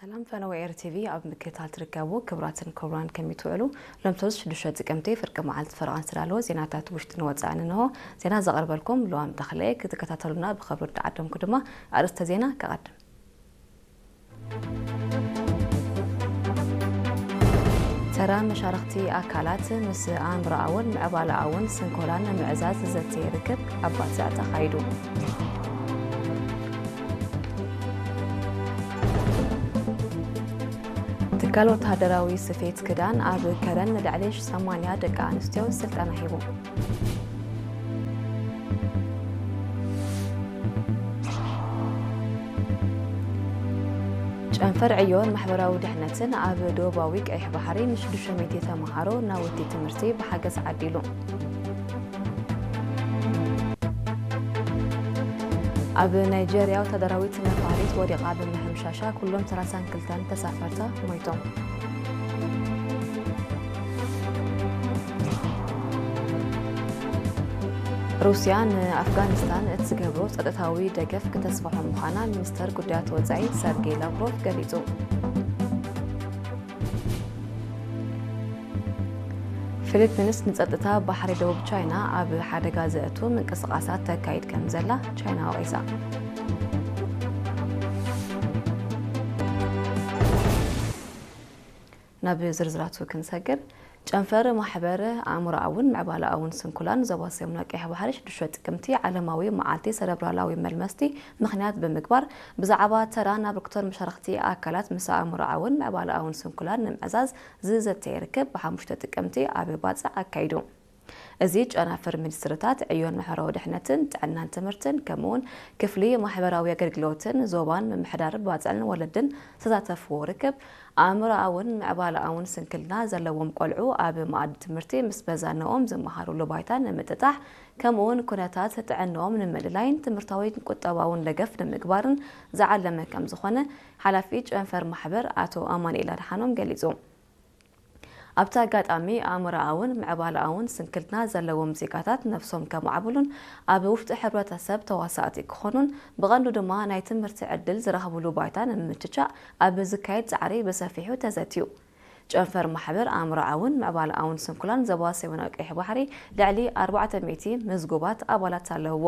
ሰላም ፈነወ ኤር ቲቪ ኣብ ምክትታል ትርከቡ ክቡራትን ክቡራን ከመይ ትውዕሉ? ሎም ሰሉስ ሽዱሽተ ጥቅምቲ ፍርቂ መዓልቲ ፈረቓ ዝተዳለወ ዜናታት ውሽጥን ወጻእን እንሆ። ዜና ዘቕርበልኩም ልዋም ተኽለ። ክትከታተሉና ብኽብሪ እንዳዓደምኩ ድማ ኣርእስተ ዜና ከቐድም። ተራ መሻርኽቲ ኣካላት ምስ ኣእምሮኣውን ምዕባለኣውን ስንኮላን ንምዕዛዝ ዘተ ርክብ ኣብ ባጽዕ ተኻይዱ። ትካል ወተሃደራዊ ስፌት ክዳን ኣብ ከረን ንልዕሊ ሰማንያ ደቂ ኣንስትዮ ስልጠና ሂቡ። ጨንፈር ዕዮን ማሕበራዊ ድሕነትን ኣብ ዶባዊ ቀይሕ ባሕሪ ንሽዱሽተ ሚእቲ ተምሃሮ ናውቲ ትምህርቲ ብሓገዝ ዓዲሉ። ኣብ ናይጀርያ ወታደራዊት ነፋሪት ወዲቓ ብምሕምሻሻ ኩሎም ሰላሳን ክልተን ተሳፈርታ ሞይቶም። ሩስያ ንኣፍጋኒስታን እትገብሮ ጸጥታዊ ደገፍ ክተስፍሖ ምዃና ሚኒስተር ጉዳያት ወጻኢ ሰርጌይ ላቭሮቭ ገሊጹ። ፊሊፒንስ ንጸጥታ ባሕሪ ደቡብ ቻይና ኣብ ሓደጋ ዘእቱ ምንቅስቓሳት ተካይድ ከም ዘላ ቻይና ወቒሳ። ናብ ዝርዝራቱ ክንሰግር፣ ጨንፈር ማሕበር ኣእምሮኣውን ምዕባለኣውን ስንኩላን ዞባ ሰሜናዊ ቀይሕ ባሕሪ ሽዱሽተ ጥቅምቲ ዓለማዊ መዓልቲ ሰረብራላዊ መልመስቲ ምኽንያት ብምግባር፣ ብዛዕባ ተራን ኣበርክቶን መሻርኽቲ ኣካላት ምስ ኣእምሮኣውን ምዕባለኣውን ስንኩላን ንምዕዛዝ ዝዘተ ርክብ ብሓሙሽተ ጥቅምቲ ኣብ ባጽዕ ኣካይዱ። እዚ ጨናፍር ሚኒስትርታት ዕዮን ማሕበራዊ ድሕነትን ጥዕናን ትምህርትን ከምኡውን ክፍሊ ማሕበራዊ ኣገልግሎትን ዞባን ምምሕዳር ባጽዕን ወለድን ዝተሳተፍዎ ርክብ ኣእምሮኣውን ምዕባለኣውን ስንክልና ዘለዎም ቆልዑ ኣብ መኣዲ ትምህርቲ ምስ መዛንኦም ዝመሃሩሉ ባይታ ንምጥጣሕ ከምኡውን ኩነታት ጥዕንኦም ንምልላይን ትምህርታዊን ቁጠባውን ደገፍ ንምግባርን ዝዓለመ ከም ዝኾነ ሓላፊ ጨንፈር ማሕበር ኣቶ ኣማኑኤል ኣድሓኖም ገሊጹ። ኣብቲ ኣጋጣሚ ኣእምሮኣውን ምዕባለኣውን ስንክልና ዘለዎም ዜጋታት ነብሶም ከማዕብሉን ኣብ ውሽጢ ሕብረተሰብ ተዋሳእቲ ክኾኑን ብቐንዱ ድማ ናይ ትምህርቲ ዕድል ዝረኽብሉ ባይታ ንምምችቻእ ኣብ ዝካየድ ጻዕሪ ብሰፊሑ ተዘትዩ። ጨንፈር ማሕበር ኣእምሮኣውን ምዕባለኣውን ስንኩላን ዞባ ሰሜናዊ ቀይሕ ባሕሪ ልዕሊ ኣርባዕተ ሚእቲ ምዝጉባት ኣባላት ኣለውዎ።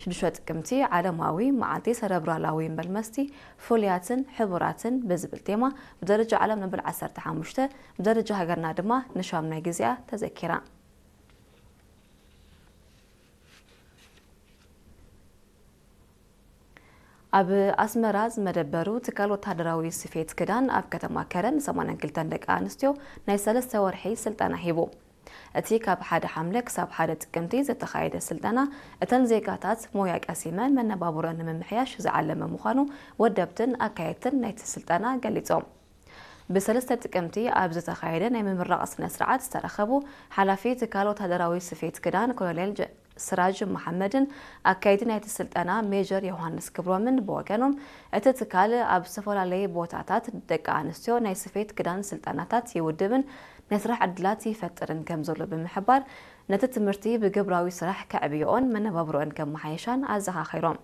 ሽዱሽተ ጥቅምቲ ዓለማዊ መዓልቲ ሰረብራላዊ መልመስቲ ፍሉያትን ሕቡራትን ብዝብል ቴማ ብደረጃ ዓለም ነንበል ዓሰርተ ሓሙሽተ፣ ብደረጃ ሃገርና ድማ ንሻምናይ ግዜኣ ተዘኪራ። ኣብ ኣስመራ ዝመደበሩ ትካል ወተሃደራዊ ስፌት ክዳን ኣብ ከተማ ከረን ሰማንያን ክልተን ደቂ ኣንስትዮ ናይ ሰለስተ ወርሒ ስልጠና ሂቡ። እቲ ካብ ሓደ ሓምለ ክሳብ ሓደ ጥቅምቲ ዝተኻየደ ስልጠና፣ እተን ዜጋታት ሞያ ቀሲመን መነባብሮን ንምምሕያሽ ዝዓለመ ምዃኑ ወደብትን ኣካየድትን ናይቲ ስልጠና ገሊጾም። ብሰለስተ ጥቅምቲ ኣብ ዝተኻየደ ናይ ምምራቕ ስነ ስርዓት ዝተረኸቡ ሓላፊ ትካል ወተሃደራዊ ስፌት ክዳን ኮሎኔል ጀ-፣ ስራጅ መሓመድን ኣካየዲ ናይቲ ስልጠና ሜጀር ዮሃንስ ክብሮምን ብወገኖም፣ እቲ ትካል ኣብ ዝተፈላለዩ ቦታታት ደቂ ኣንስትዮ ናይ ስፌት ክዳን ስልጠናታት ይውድብን ናይ ስራሕ ዕድላት ይፈጥርን ከም ዘሎ ብምሕባር፣ ነቲ ትምህርቲ ብግብራዊ ስራሕ ከዕብዮኦን መነባብሮኦን ከመሓየሻን ኣዘኻኺሮም።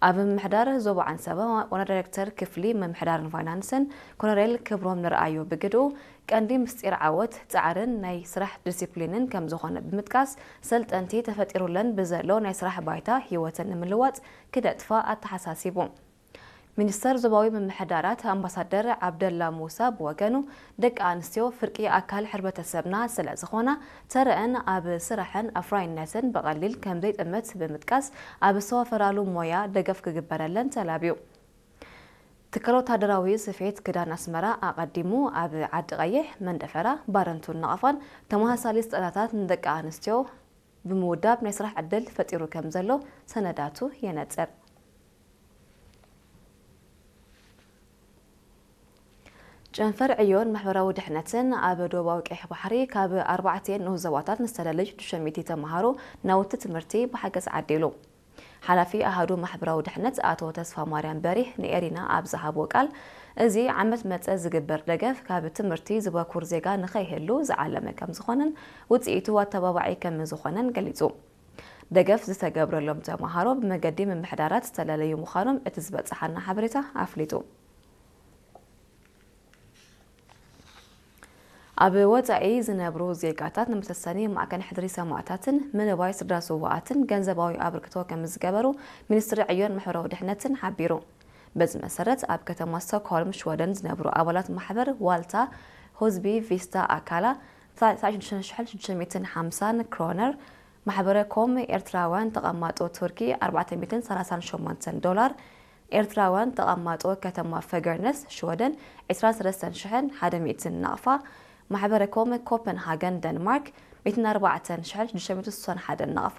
ኣብ ምምሕዳር ዞባ ዓንሰባ ዋና ዳይሬክተር ክፍሊ ምምሕዳርን ፋይናንስን ኮሎኔል ክብሮም ንርኣዮ ብግድኡ፣ ቀንዲ ምስጢር ዓወት ጻዕርን ናይ ስራሕ ዲሲፕሊንን ከም ዝኾነ ብምጥቃስ፣ ሰልጠንቲ ተፈጢሩለን ብዘሎ ናይ ስራሕ ባይታ ህይወተን ንምልዋጥ ክደጥፋ ኣተሓሳሲቡ። ሚኒስተር ዞባዊ ምምሕዳራት ኣምባሳደር ዓብደላ ሙሳ ብወገኑ፣ ደቂ ኣንስትዮ ፍርቂ ኣካል ሕብረተሰብና ስለ ዝኾና፣ ተረአን ኣብ ስራሕን ኣፍራይነትን ብቐሊል ከም ዘይጥመት ብምጥቃስ፣ ኣብ ዝተዋፈራሉ ሞያ ደገፍ ክግበረለን ተላብዩ። ትካል ወተሃደራዊ ስፌት ክዳን ኣስመራ ኣቐዲሙ ኣብ ዓዲ ቀይሕ፣ መንደፈራ፣ ባረንቱን ነቐፋን ተመሳሳሊ ስልጠናታት ንደቂ ኣንስትዮ ብምውዳብ ናይ ስራሕ ዕድል ፈጢሩ ከም ዘሎ ሰነዳቱ የነጽር። ጨንፈር ዕዮን ማሕበራዊ ድሕነትን ኣብ ዶባዊ ቀይሕ ባሕሪ ካብ ኣርባዕተ ንኡስ ዞባታት ንዝተደለዩ ሽዱሽተ ሚእቲ ተምሃሮ ናውቲ ትምህርቲ ብሓገዝ ዓዲሉ። ሓላፊ ኣሃዱ ማሕበራዊ ድሕነት ኣቶ ተስፋ ማርያም በሪህ ንኤሪና ኣብ ዝሃቦ ቃል፣ እዚ ዓመት መጸ ዝግበር ደገፍ ካብ ትምህርቲ ዝበኩር ዜጋ ንኸይህሉ ዝዓለመ ከም ዝኾነን ውጽኢቱ ኣተባባዒ ከም ዝኾነን ገሊጹ። ደገፍ ዝተገብረሎም ተምሃሮ ብመገዲ ምምሕዳራት ዝተለለዩ ምዃኖም እቲ ዝበጽሓና ሓበሬታ ኣፍሊጡ። ኣብ ወጻኢ ዝነብሩ ዜጋታት ንመሰሰኒ ማዕከን ሕድሪ ሰማእታትን ምልባይ ስድራ ስውኣትን ገንዘባዊ ኣበርክቶ ከም ዝገበሩ ሚኒስትሪ ዕዮን ማሕበራዊ ድሕነትን ሓቢሩ። በዚ መሰረት ኣብ ከተማ ስቶክሆልም ሽወደን ዝነብሩ ኣባላት ማሕበር ዋልታ ሆዝቢ ቪስታ ኣካላ ትስዓን ሽዱሽተን ሽሕን ሽዱሽተ ሚእትን ሓምሳን ክሮነር፣ ማሕበረ ኮም ኤርትራውያን ተቐማጦ ቱርኪ ኣርባዕተ ሚእትን ሰላሳን ሸሞንተን ዶላር፣ ኤርትራውያን ተቐማጦ ከተማ ፈገርነስ ሽወደን ዕስራን ሰለስተን ሽሕን ሓደ ሚእትን ናቕፋ፣ ማሕበረ ኮም ኮፐንሃገን ደንማርክ ሚእትን ኣርባዕተን ሽሕን ሽዱሽተ ሚእትን ስሳን ሓደን ናቕፋ፣